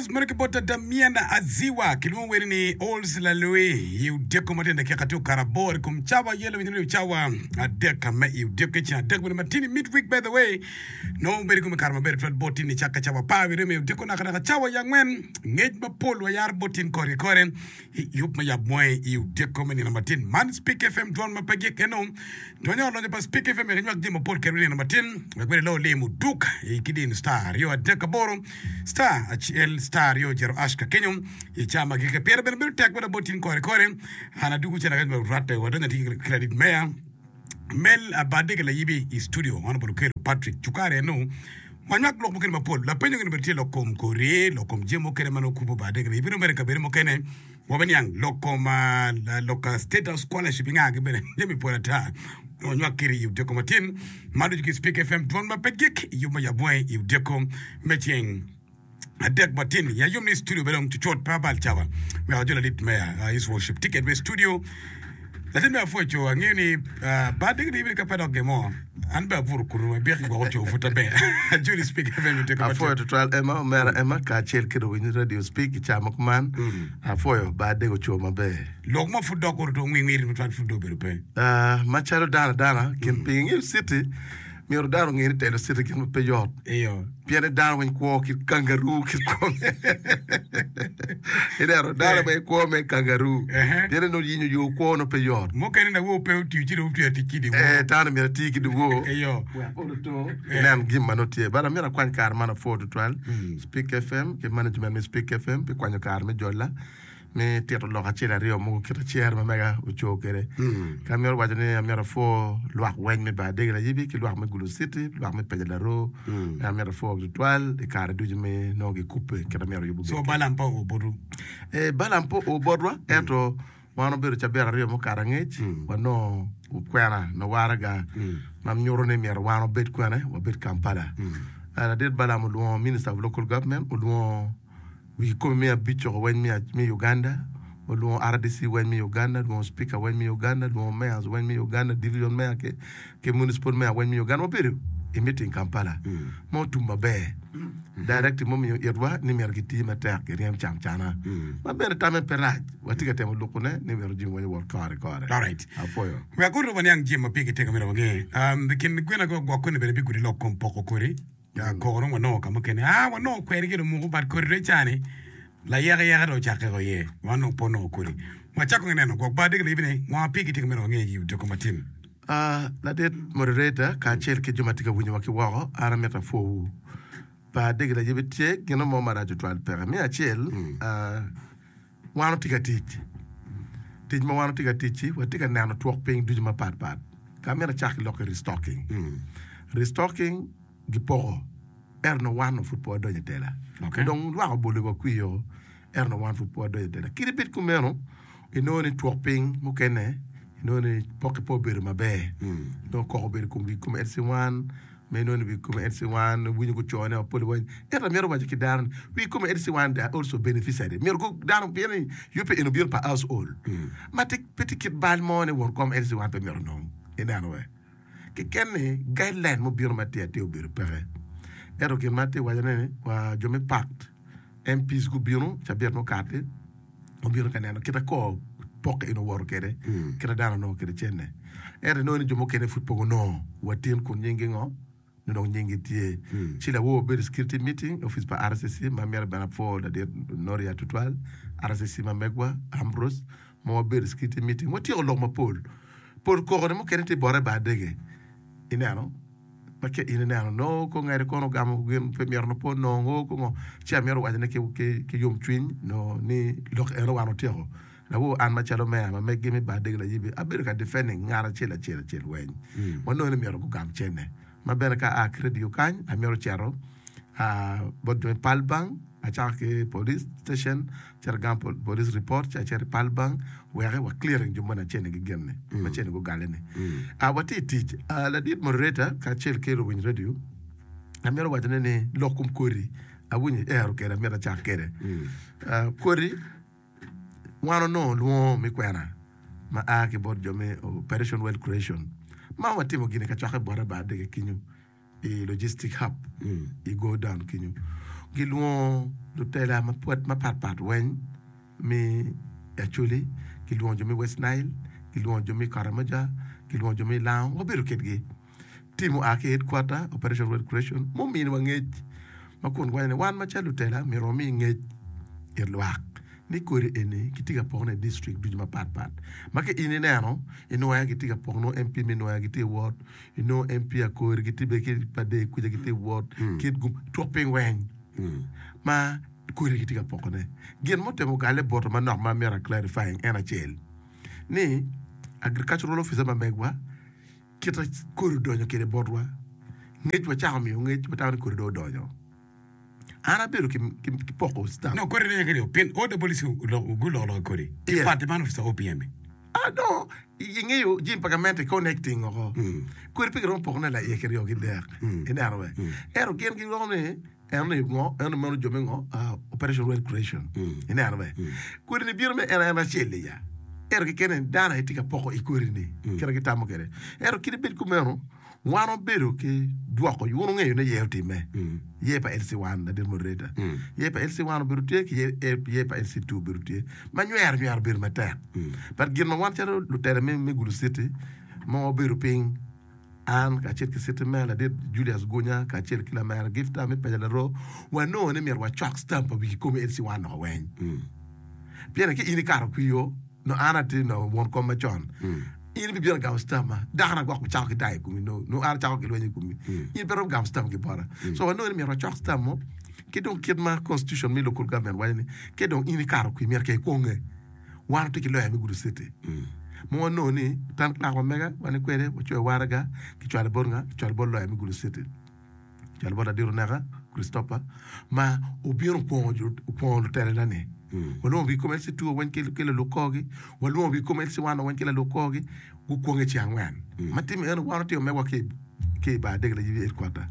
Rose meno ki bot Damian Aziwa kilwongo wene ni Ols Lalui i odiko ma tye dakika tye okato aboro i kom cawa yelo winyo ni cawa adek me i odiko ki ceng adek bene matini mid week by the way nongo bedo kome kare maber twal bot tin cakke cawa apar wiye me odiko naka naka cawa ya angwen ngec mapol wayaro bot tin kore ki kore i yub me yab mwangi i odiko me nino matin man Speak FM dwon ma pe gik eno Donyo lonyo pa Speak FM wek inywak jami mapol kedwa i nino matin wek bene ilo lim oduk i kidin star aryo adek aboro star acel star aryo jero ash ka kenyo i ca ma gike pire bene bedo tek mada bot tin kore kore an adugu cen akec rwatte wadonyo atir ki ladit meya Mel Abadege Layibi i studio Honorable Okello Patrick Cukari eno wanywak lok mukene mapol lapenyo gini bene tye lok kom kori lok kom jami mukene ma nongo kubo Badege Layibi nongo mere i kabedo mukene Wabiniang lok kom lok State House Scholarship inga gi bene jami pol ata wanywak kiri i odiko matin ma ducu ki Speak FM dwon ma pe gik i yub ma yabwange i odiko me ceng adek matin ya yom ni studio bene dong cucut pe abal cawa wek ajo ladit meya uh, his worship ticket me studio latin me apwoyo co angeyo ni uh, ba digi digi ka pe dok gemo An bene abuto kunu, abyek gwok oco pud aber. Ajoli Speak FM i teko Apwoyo matek. tutwal Emma, omera Emma kacel ki luwiny radio Speak i ca ma kuman. Apwoyo ba adek oco maber. Lok mo pud dok oruto ngwingwiri tutwal pud dong obedo pe. Ah, macalo dano adana, kin piny ingeyo city, myero dano onge ni telo city gin ma pe yot. Iyo. Pien ni dano weng kwo kit kangaroo kit kwo me ineno dano weng kwo me kangaroo Ehe. pien ni nongo yinyo yo kwo nongo pe yot. Mukene lawor pe otiyo ci dong otweyo tic ki dyewor. Eh, dano myero ati ki dyewor Iyo. wek pol oto inen gin ma nongo tye. But amyero akwany kare man apwo tutwal Speak FM ki management me Speak FM pi kwanyo kare me jolla. me tito lok acel aryo mogo kit acer ma mega oco kwede. Ka amito waco ni amito apwo lwak weny me Bar Adegi Layibi ki lwak me Gulu City, lwak me Peja Laroo, en amito apwogi tutwal i kare ducu me nongo gikubbe kit amyero yub obed So kwede. Balaam pe oo botwu? Eh, Balaam pe oo botwa, ento wan obedo cabit aryo mukato angec, wanongo kwena nyo waraga ma nyuto ni myero wan wabed kwene, wabed Kampala. Eh, Ladit Balaam olwongo Minister of Local Government, olwongo Wi kikopo me abic-coko weny me Uganda, olwongo RDC weny me Uganda, olwongo Speaker weny me Uganda, olwongo Mayors weny me Uganda, Division Mayor ki Municipal Mayor weny me Uganda. Wabedo i meeting Kampala ma otum maber. Directive ma omiyo itwa ni myero giti matek giryem camcana ma bene tamme pe rac. Watye ka temo lukone ni myero jami weny owot kore kore. Alright. Apwoyo. Wek orumo niang jami ma pigi tego myero wange. Um, kin gwina gwok koni bene bigudi lok kom poko kodi. Koko dong wanongo ka mukene. Aa, wanongo kweri gin omuko but kodi dong icani layeke yeke dong ocakke ko iye. Wan dong pe onongo kodi. Wacako ki neno gwok bar diki libi ni ngo ma pigi tye ka mito wange i odiko matin. Aa, ladit moderator kacel ki jo ma tye ka winyowa ki woko, an amito apwowu. Bar diki layibi tye gino mo marac tutwal peke. Me acel, aa, wan watye ka tic. Tic ma wan watye ka tic-ci, watye ka neno twok piny ducu mapat pat. Ka amito acak ki lok ki restocking. Restocking gipoko ento nongo wan onongo pud pe wadonyo i tela. Okay. Dong lwak obolo wa kwir-o, ento nongo wan pud pe wadonyo i tela. Kadi bed kumeno, inongo ni twok piny mukene inongo ni pokke pe obedo maber. Nongo koko obedo i kom wi kom LC1, ma inongo ni wi kome LC1 winyo gucone mapol weng. Ento amito waco ki dano ni wi kome LC1 they are also beneficiary. Myero gu dano pien ni yubbe eni obino pa household ma tye pe tye kit bal mo ni won kom LC1 pe myero onong. Ineno we? Keken ni guideline mubino matir atir obedo peke. Ento gin ma atye waco ne ni wa jo me pact MPs gubino cabit mukati obino ka neno kit akor pokke eni owoto kwede, kit ma dano onongo kwede cente. Ento inongo ni jo mukene pud pe gunongo wa tin kun nyinggi ngo? Nongo dong nyinggi tye. Ci lawor obedo i security meeting i opic pa RCC ma myero bene apwo ladit Noria tutwal, RCC ma megwa Ambrose ma wabedo i security meeting watyeko lok mapol. Pol koko-ni mukene tye bote bar dege ineno. Ma ka in ineno nongo ko ngete kono ogamo gin pe myero nongo pe onongo ko ngo ci amito waco ne ki yom cwiny nongo ni lok eno wan otyeko lawor an macalo meya ma meggi me bar dege layibi abedo ka defending ngat acel acel acel weny wanongo ni myero gugam cene ma bene ka aa ki radio kany amito cito bot jo me pal bank acako ki police station acito agamo police report ci acito i pal bank wek wa clearing jo moni acel ni gin ni ma cene gugale ni watye i tic ladit moderator kacel ki luwiny radio amito waco ne ni lok kom kodi awinyo iero kede amito acak kede kodi wan onongo lwongo me kwena ma a ki bot jo me operation wealth creation ma watimo gini kacokke bote bar dege kenyo i logistic hub i go down kenyo. Gilwongo lutela mapat pat weng me Acholi, gilwongo jo me West Nile, gilwongo jo me Karamoja, gilwongo jo me Lango, wabedo kedgi. Tim oa ki i headquarter, Operation Wealth Creation, muminiwa ngec ma kun giwaco ni wan macalo lutela myero wami ngec it lwak ni kodi eni kitye ka pokone i district ducu mapat pat ma ka in ineno i Nwoya kitye ka poko nongo MP me Nwoya gitye ka wot, inongo MP Akori gitye bene ki Padee kuca gitye ka wot, Kitgum, twok piny weng ma kodi kitye ka pokone. Gin mutemo galle bota manok ma amyero a clarifying en acel ni agricultural officer ma megwa Kit ma kodi odonyo kwede botwa, ngec wacako miyo ngec, watamo ni kodi dong odonyo. An abedo ki poko stamp. No, kodi donyo kede pien OWC guloko lok i kodi. Yes. Party man officer OPM. Ah, no, ingeyo jami pa gamente connecting oko. Kodi pe giromo pokone laiye kiryo ki dek. Ineno be? Ento gin giromo ni Eno ni ngo? Eno meno jo me ngo? Operation Wealth Creation. Ineno be? Kodi ni bino me en en acel-li ya. Ento kekene dano aye tye ka poko i kodi ni, kite gitamo kwede. Ento kadi bed kumeno, wan wabedo ki dwoko, wun wungeyo ni ye otimme. Ye pa LC1, ladit moderator. Ye pa LC1 obedo tye ki ye pa LC2 obedo tye. Ma nywero nywero obedo matek. But gin ma wan calo lutela me Gulu City ma wabedo piny, An kacel ki citi mera ladit Julius Gunya kacel ki lamera Gifta me Paca Laroo wanongo ni myero wacok stamp pa wigi komi LC wan noko weng. Pien ki in ikato kwiyo nongo an atye nongo won kom macon in ibibino gamo stamp ma dakona gwok bicako ki dayo i komi nongo an acako ki lweny i komi in pe iromo gamo stamp ki bota. So wanongo ni myero wacok stamp mo ki dong kit ma constitution me local government waco ni ka dong in ikato kwi myero ke ikwonge. Wan watye ki loya me gudo citi ma wanongo ni town clerk ma mega wan kwede wacoyo waraga kicwalo bot nga? Kicwalo bot loya me gudo citi kicwalo bot ladit oneka Christopher ma obino okwongo lutelana ni walwongo gi kome LC2 weng ki laluk korgi walwongo gi kome LC1 weng ki laluk korgi gukwonge ceng angwen ma time eno wan otimo megwa ki i bar dek layibi headquarter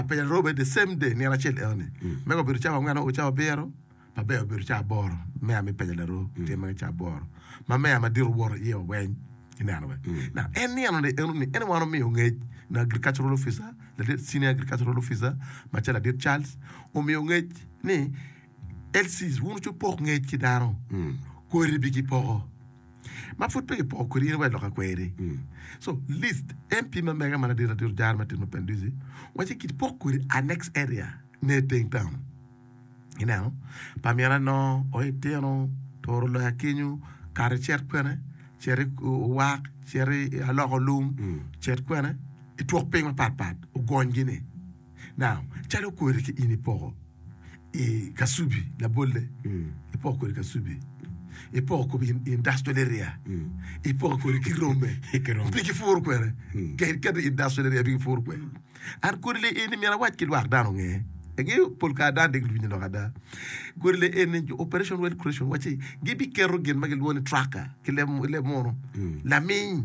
Peja Robe the same day nino acel eno ni mega obedo cawa angwen o cawa abiro Maber obedo ca aboro, meya me Peja Laroo tye mere ca aboro, ma meya madit owoto iye wa weny ineno be. Now en nino ni eno ni en wan omiyo ngec na agricultural officer ladit senior agricultural officer macalo ladit Charles omiyo ngec ni LCs wun wucung pok ngec ki dano kodi bi kipoko ma pud pe kipoko kodi in iwaco lok akweri so list MP ma mega ma ladit ladit ojara ma timo Penduzi waci kipok kodi annex area ne teng town. Ineno, pa myero anongo o itino, turo loya kenyo, kato icit kwene, cit i owak, cit i aloko lum, cit kwene i twok piny mapat pat, ogonygi ni. Now, calo kodi ki in ipoko i Kasubi, labolle, ipoko kodi Kasubi, ipoko kodi i industrial area, ipoko kodi ki Rome, pe gipuro kwene, keto i industrial area pe gipuro kwene. An kodi lee eni myero awac ki lwak dano onge. Angeyo pol kare dano dek winyo lok ada. Kodi lee eni jo Operation Wealth Creation wacci gibiketo gin ma gilwongo ni tracker ki leb leb munu laminy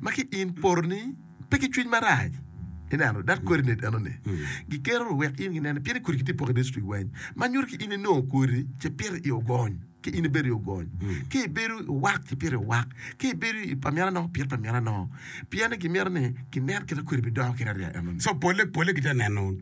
ma ki in poroni pe ki cwiny marac ineno that coordinate eno ni giketo wek in ginen pien ni kodi gitye poko i district weng ma nyuto ki in inongo kodi ci pito i ogony. Ki in ibedo i ogony, ki ibedo i owak ci pito i owak, ki ibedo i pa myero anongo pit pa myero anongo. Pien ni gimito ni ginen kit ma kodi bidongo kede arya enoni. So polle polle gitye ka neno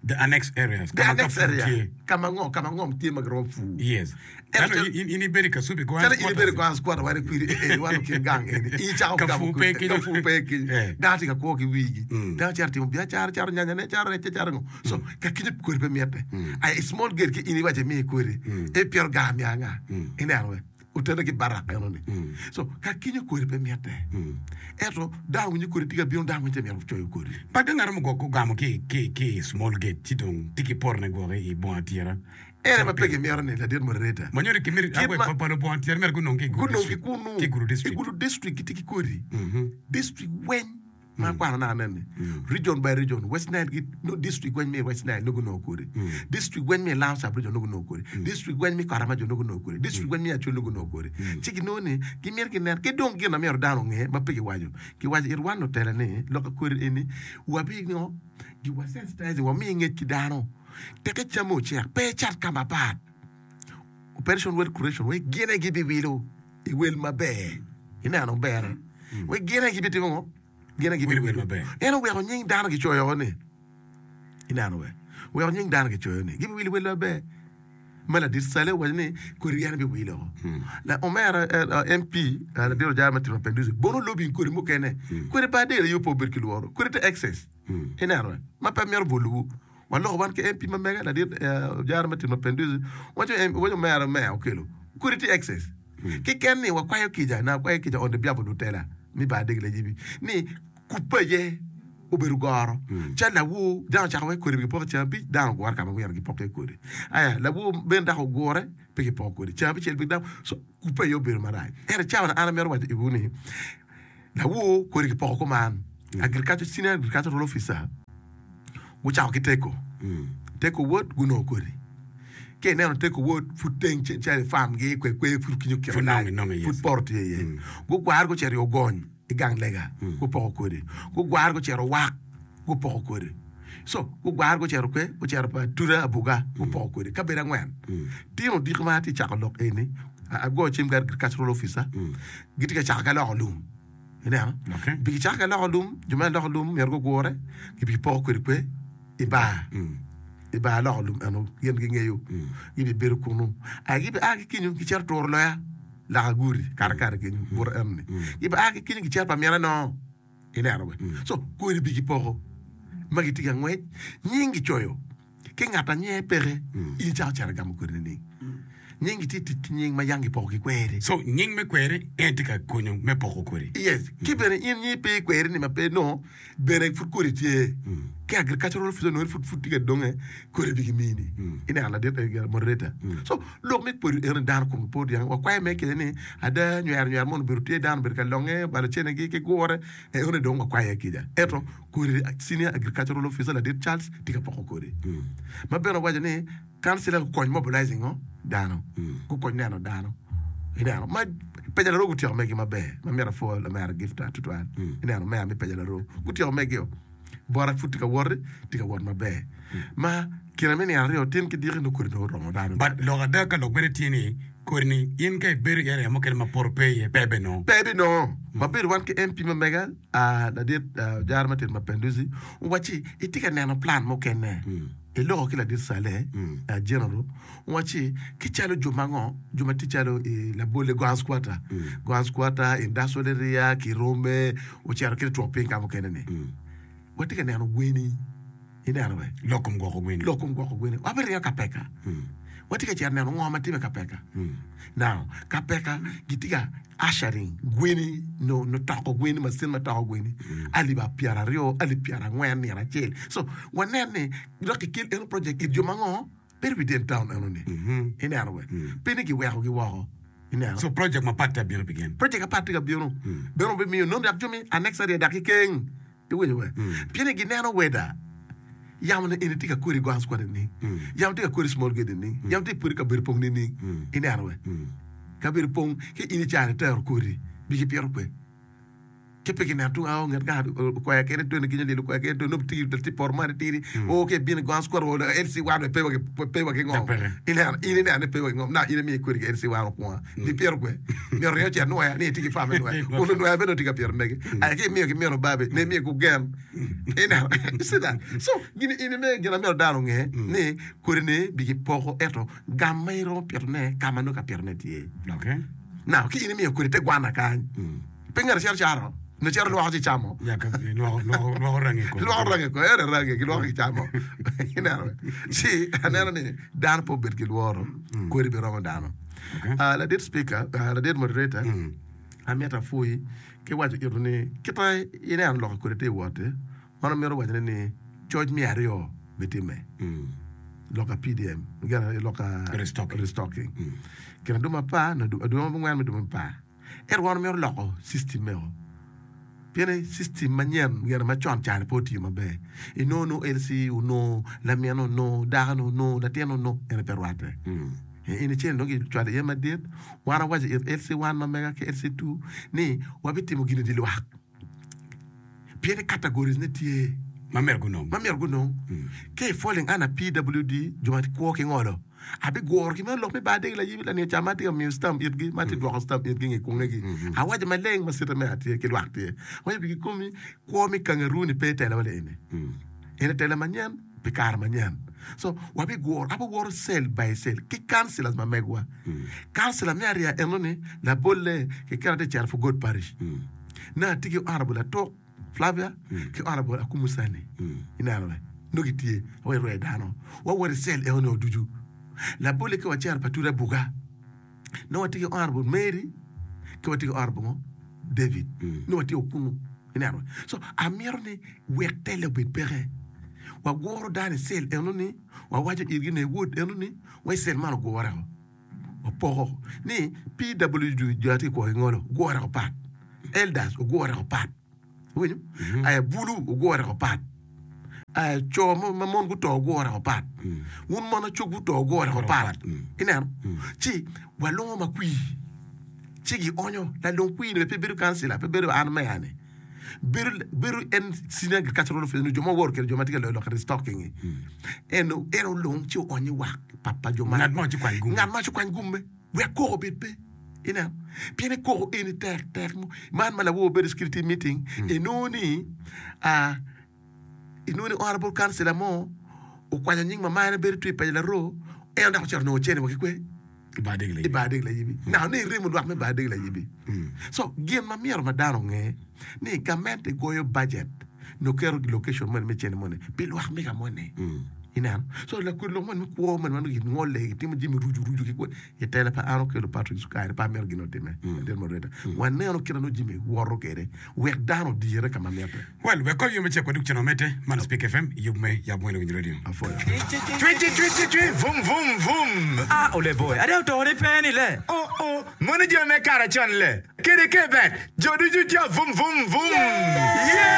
the annex areas The ka ma ka annex pur area, tye. ka ma ngo, ka ma ngom tye ma giromo pur. Yes. Ento Calo calo in in ibedo i Kasubi Goan calo in ibedo i quarters. Goan squatter wan ikwiri eh eh wan okin gang eni in icako Ka gamo pur pe kodi ka kenyo. pur pe kenyo. Eh. Dano tye ka kwo ki wigi. Dano cito timo biacara cato nyanyane cato recce cato ngo. So ka kenyo kodi pe mitte. Aye i small gate ki in iwaco imi kodi ipito gar me anga ineno we otene ki barak eno ni. So ka kenyo kodi pe mitte. Ento dano winyo kodi tye ka bino dano winyo mito coyo kodi. But ka ngat mo gwok ogamo ki ki ki i small gate ci dong tye ki potone gwoki i bunga tira. Ene ma pe gimito ni ladit moderator. Ma nyuto ki Kit ma pa lubunga tira myero gunong ki i Gulu gunong ki district. kunu Ki i Gulu i district. Gulu district gitye ki kodi district weng. Ma akwano naka nen ni, region by region, West Nile gi no district weng me i West Nile nongo gunongo kodi, district weng me i Lango sub region nongo gunongo kodi, district weng me i Karamajong nongo gunongo kodi, district weng me i Acholi nongo gunongo kodi. Ci ginongo ni gimito ginen ki dong gin ma myero dano onge ma pe giwaco, giwaco it wan lutela ni lok kodi eni wabi ngo gi wa sensitizing wami ngec ki dano teke camme ocek pe ecat ka mapat. Operation Wealth Creation wek gin aye gibiwilo i wel maber. Ineno berre? Wek gin aye gibitimo ngo? Gin aye Wilo wel gibiwilo. maber. En oweko nying dano gicoyo ni. Ineno we? Weko nying dano kicoyo ni gibiwilo wel maber. Ma ladit Sale owaco ni kodi en biwilo. La omera MP ladit ojara me timo Mapinduzi bono lobbying kodi mukene. Kodi pa Adel aye pe obed ki lworo. Kodi te excess. Ineno ma pe mito bolowu. Waloko wan ki MP ma mega ladit ojara me timo Mapinduzi waco waco omera meya okelo kodi tye excess. Keken ni wakwayo kica na akwayo kica on the behalf of lutela me bar Adegla Ayibi ni Kubbe aye obedo goro. Calo lawor, dano ocako wek kodi pe gipoko ceng abic, dano ogure ka ma myero gipok iye kodi. Aya, lawor bene dok ogure, pe gipoko kodi. Ceng abicel pe dano, so kubbe aye obedo marac. Ento i cawa-ni an amito waco iwu ni, lawor kodi kipoko kuman, agriculture, senior agricultural officer gucako ki teko, teko wod gunongo kodi. Ka ineno teko wod pud teng calo i farm gi kwe kwe pud kinyo kite Pud nonge inonge, yes. pud poto tye iye. Gugwaro gucito i ogony. I gang lega, gupoko kodi. Gugwaro gucito wak, gupoko kodi. So, gugwaro gucito kwe, gucito pa Tuda Abuga, gupoko kodi. Kabedo angwen. Tino odiko ma atye cako lok eni, agoyo cim ki agricultural officer, gitye ka cako ki aloko lum. Ineno? Okay. Bi gicako ki aloko lum, jo me aloko lum myero gugure, gibipoko kodi kwe i bar. I bar aloko lum eno, gin gingeyo. Gibibedo kunu. Aye gibia ki kenyo, gicito turo loya. Laka gudi kare kare kenyo buto eno ni gibe a ki kenyo gicito pa mine nongo ineno be so kodi bi gipoko ma gitye ka ngwec nying gicoyo ki ngat a nyinge peke in icako cito igamo kodi nining nying gitye tic ki nying ma yang gipoko ki kweri. So nying me kweri en tye ka konyo me poko kodi. Yes ki bene in nyingi pe i kweri ni ma pe nongo Bene pud kodi tye ki agricultural officer onongo pud pud tye ka donge kodi bi gimini ineno ladit moderator so lok me kodi eno ni dano komgi pe odyang wakwayo me kene ni ada nywero nywero mono obedo tye dano obedo ka longe obalo cene gi ki gure eno ni dong wakwayo iye kica ento kodi senior agricultural officer ladit Charles tye ka poko kodi ma bene owaco ni Kancila gukony mobilizing ngo dano, gukony neno dano. Ineno ma Peja Laroo gutyeko megi maber ma myero apwo lamera Gifta tutwal. Ineno meya me Peja Laroo gutyeko megio. Bota pud tye ka woti, tye ka wot maber. Ma kine me nino aryo tin ki diki nongo kodi dong oromo dano. But lok ada ka lok bene tye ni kodi ni in ka ibedo i area mukene ma poto pe iye pe ibinongo. Pe ibinongo. Wabedo wan ki MP ma mega ladit Ojara Martin Mapenduzi owacci itye ka neno plan mukene. Iloko ki ladit Saleh, General, owacci, Ki calo jo ma ngo, jo ma tye calo i labolle Goan's Quarter, Goan's Quarter, Industrial Area, Kirome, ocito ki twok piny ka mukene ni, watye ka neno gweni. Ineno be? Lok kom gwoko gweni. Lok kom gwoko gweni. Wabiringo Kapeka. Watye ka cito neno ngo ma timme Kapeka. Now, Kapeka gitye ka Ushering gweni nyo toko gweni, macin ma toko gweni alip pyeraryo, alip pyerangwen nino acel. So wanen ni dok kikel eno project it jo ma ngo bedo within town eno ni. Ineno be? Pe ni giweko gi woko. Ineno? So project mapat tye ka bino pi gin. Project mapat tye ka bino. Beno bimiyo nongo dok jo mi annexary dok kikeng. Iwinyo be? Pien ni gineno weda yamo ni eni tye ka kodi Goan's Quarter nining? Yamo tye ka kodi Small Gate nining? Yamo tye ka kodi kabedo pong nining? Ineno be? Kabedo pong ki in icano itero kodi bi gipito kwe. Ki pe kineno tung ao nget gang okwer kene tweni kenyo lyel okwer kene tweni nongo tye tye poto moni tidi o ki ibino i Goan's Quarter wa LC one be pe wa ki pe wa ki ngom. Ineno in ineno ni pe wa ki ngom na in imiyo kodi ki LC one okwonga. Gipito kwe. Myero ringo ocit nwoya ni etye ki fam me nwoya. Kun onwoya bene tye ka pito mege. Aye ki imiyo ki mino babi ne imiyo ku gen. Ineno? You see that? So, gin ini me gin amyero dano onge ni kodi ni bi gipoko ento gam ma iromo pito ne ka ma nongo ka pito ne tye. Okay. Now, ki in imiyo kodi te gwana kany. Pe ngat cito caro. Nyo cito lwoko ci camo. Ya ka lwoko lwoko lwoko rangi kome. Lwoko rangi kome. Ene rangi gilwoko gicamo. Ineno? Ci aneno ni dano pe obed ki lworo. Kodi be romo dano. Okay. Ah, ladit speaker, ah, ladit moderator, amito apwoyi ki waco ito ni kita ineno lok kodi tye wot-ti, wan wamito wacone ni coc me aryo bitimme. Lok a PDM, gin lok a Restocking. restocking. Kine dwe apar, nyo dwe abongwen me dwe apar. Ento wan wamito loko system meno pien ni system manyen gire macon ca-ni pe otiyo maber. Inongo nongo LC onongo, lamine onongo, dakone onongo, latinne onongo, ento pe rwatte. In icel nongo gicwalo iye madit, wan wawaco it LC one ma mega ki LC two ni wabitimo gin i dye lwak. Pien ni categories ne tye Ma myero gunong. ma myero gunong. Ka i falling under PWD, jo ma kwo ki ngolo, abiguro ki meno lok me bar dege layibi laniyo ca ma atye ka miyo stamp itgi, ma atye ka dwoko stamp itgi nge kwongegi. Awaco maleng ma cite me atye ki lwak tye. Awaco pi kikomi, kwo me kangaroo ni pe i tela wa lieni. En i tela manyen pi kare manyen. So wabiguro abiwoto cell by cell ki councillors ma megwa. Councillor me ariya eno ni labolle kiketa tye cito for God parish. Nongo atye ki honourable Atuk Flavia ki honourable Akumu Sani. Ineno be? Nongo gitye wek irwe dano. Wawoto i cell eno ni ducu. Labolle ka wacito pa Tuda Buga nongo watye ki honourable Mary ki watye ki honourable ngo? David. Nongo watye kunu. Ineno? So amito ni wek telle obed peke. Waguro dano i cell eno ni wawaco itgi ni wod eno ni wa i cell man ogure o. Wapoko ni PWD jo atye kwo ki ngolo ogure o pat. Elders ogure o pat. Iwinyo? Aya bulu ogure o pat. Aya co ma mon guto ogure o pat. Wun mon acog guto ogure o pat. Ineno? Ci walongo makwir. Ci gionyo lalong kwir ni bene pe bedo kancila, pe bedo an meya ni. Bedo, bedo en senior agricultural officer nyo jo ma woro kede jo ma tye ka loyo lok restocking-ngi. En, en olong ci oonyo i wak pa, pa jo ma. Ngat ma ocukwany gumme. Ngat ma ocukwany gumme wek koko obed pe. Ineno? Pien ni koko eni tek, tek. Man ma lawor bedo i security meeting, inongo ni, ah, inongo ni honorable councilor mo okwanyo nying mamane bedo tye i paco laroo, en dok ocito onongo cene wa ki kwe. I bar degi i bar degi layibi. Naka ni iremo lwak me bar degi layibi. So gin ma myero ma dano onge ni gamente goyo budget nyo keto location moni me cene moni pi lwak mega moni. Ineno? So lakodi lok moni me kwo moni ma nongo gingole gitimo jami rucu rucu ki kwo i tela pa an Okello Patrick Sukari pe amito gin otime. Ladit moderator. Waneno kit ma nongo jami woto kwede wek dano odire ka ma mitte. Well, wek kong yo me cek wadug cen wamedde. Man Speak FM, yub me Yab Wene Winyo Radio. Apwoyo. Cwi cwi cwi cwi cwi vum vum vum. Ah oleboy, ada oto ni pe ni le. Oh oh, mono jo me kare con le. Kede kebet, jo ducu jo vum vum vum.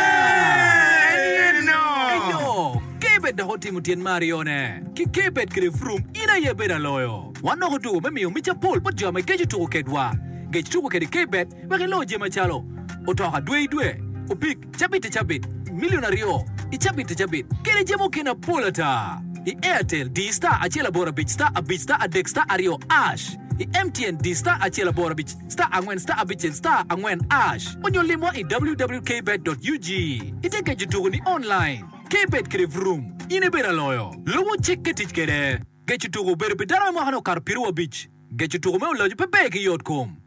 Yeah! En ye no. Eyo, Kebet dok otimo tyen me aryone. Ki Kebet kede Vroom, in aye ibedo aloyo. Wan dok otuko me miyo mic apol bot jo ma geco tuko kedwa. Gec tuko kede Kebet wek ilo jami macalo, otoka dwe i dwe, opik cabit i cabit, milion aryo i cabit i cabit, kede jami mukene apol ata. I Airtel, di star acel aboro abic star abic star adek star aryo ash. I MTN, di star acel aboro abic star angwen star abicel star angwen ash. Onyo limwa i www.kbet.ug. Ite geco tuko ni online. Kbet kede Vroom, in ibedo aloyo. Lubo cik ki tic kede. Geco tuko obedo pi dano me mwaka ne okato piru abic. Geco tuko me oloco pe ber ki yot kom.